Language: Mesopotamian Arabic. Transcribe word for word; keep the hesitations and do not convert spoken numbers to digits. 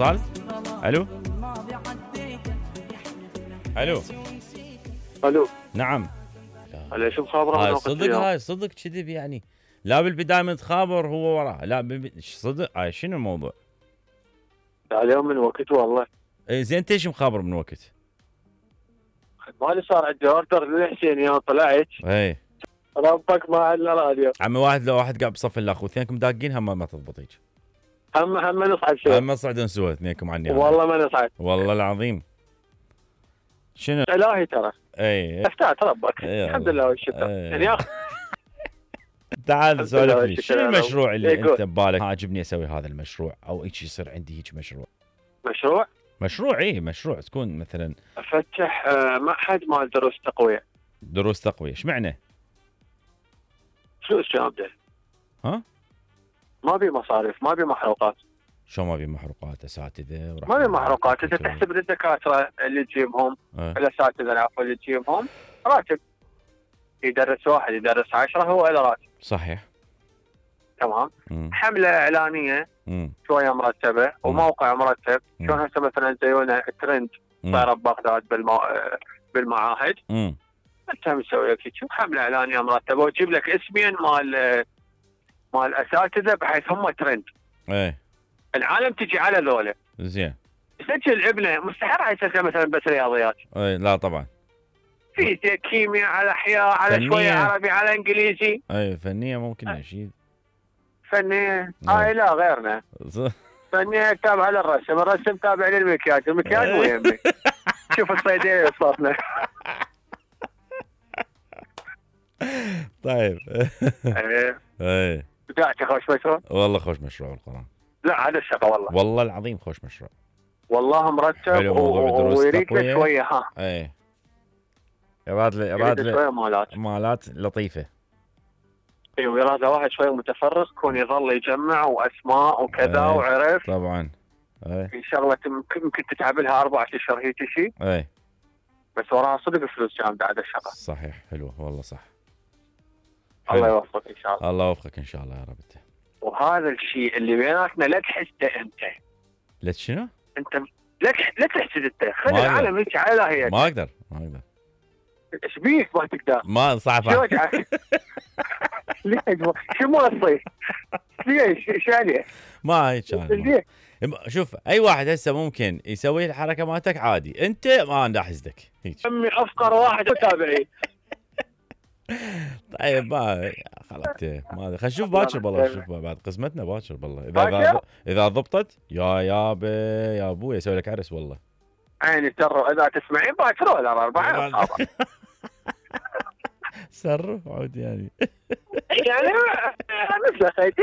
اتصال. الو الو الو نعم. هلا شو مخابره؟ هاي صدق، هاي صدق كذب يعني. لا بالبدايه من تخابر هو وراه، لا بالب... صدق. هاي شنو الموضوع؟ اليوم من وقت والله. اي زين، انت ايش مخابر من وقت؟ مالي صار عندي اوردر للحسين يوم طلعت اي ربك ما عندنا راديو. عمي، واحد لو واحد قاعد بصف الاخ واثنينكم داقين هم ما تضبط هيك. هم هم نصعد سوا. هم صعدون سوا اثنينكم عني. والله ما نصعد. والله العظيم. شنو؟ الهي ترى. اي افتات ربك. اي الحمد لله والشكر. يعني يا اخي تعال سولف لي، لله شنو والشكر. المشروع اللي يقول. انت ببالك عاجبني اسوي هذا المشروع، او هيك يصير عندي هيك مشروع؟ مشروع مشروع اي مشروع تكون مثلا افتح آه، معهد مال دروس تقويه. دروس تقويه، ايش معنى؟ فلوس جامده. ها؟ ما بي مصاريف، ما بي محروقات. شو ما بي محروقات؟ اساتذه وراح ما بي محروقات، انت تحسب للدكاتره اللي تجيبهم، اه. الاساتذه العفو اللي تجيبهم راتب. يدرس واحد يدرس عشرة هو له راتب. صحيح. تمام. مم. حمله اعلانيه مم. شويه مرتبه وموقع مرتب. مم. شلون هسه مثلا زيونا ترند مم. صايره ببغداد بالمو... بالمعاهد. مم. انت مسوي لك شوف حمله اعلانيه مرتبه وتجيب لك اسمين مال مال اساتذه بحيث هم ترند. ايه العالم تجي على ذولا. زين. سجل ابنه مستحيل راح يسجل مثلا بس رياضيات. ايه لا طبعا. في كيمياء على احياء على فنية. شويه عربي على انجليزي. ايه فنيه ممكن شيء. فنيه نعم. هاي لا غيرنا. فنيه تابعه للرسم، الرسم تابع للمكياج، المكياج مو يهمني. شوف الصيدليه صوتنا. طيب. ايه ايه بدأت خوش مشروع؟ والله خوش مشروع القرآن. لا هذا الشقه والله. والله العظيم خوش مشروع. والله مرتب. حلو موضوع دروس ويريد تقوية. له شويه ها. ايه يراد لي يريد يراد له لي شويه مالات. مالات لطيفه. ايوه يراد له واحد شويه متفرغ يكون يظل يجمع واسماء وكذا. ايه. وعرف طبعا. ايه في شغله يمكن ممكن تتعب لها اربع اشهر هيك شيء. ايه بس وراها صدق فلوس جامده هذا الشغل. صحيح. حلو والله صح. الله حلو. يوفقك ان شاء الله. الله يوفقك ان شاء الله يا رب. انت وهذا الشيء اللي بيناتنا لا تحسده انت. لا شنو؟ انت لا تح- لا تحسد انت. خلي ما أقدر. العالم هيك على هي. ما اقدر ما اقدر ايش بيك ما تقدر؟ ما صعب. شو وجعك؟ ليش؟ شو موصي؟ ليش؟ ايش عليه؟ ما هيك أنا. ليش؟ شوف اي واحد هسه ممكن يسوي الحركه مالتك عادي، انت ما انا احسدك هيك. امي افقر واحد متابعين. طيب ما خلاص ما خلينا نشوف باكر بالله، نشوف بعد قسمتنا باكر بالله. اذا باكر؟ اذا اذا ضبطت يا يابا يا ابوي اسوي لك عرس والله. عيني ترى اذا تسمعين باكر ولا اربعه سر عود يعني. يعني مثل خيتي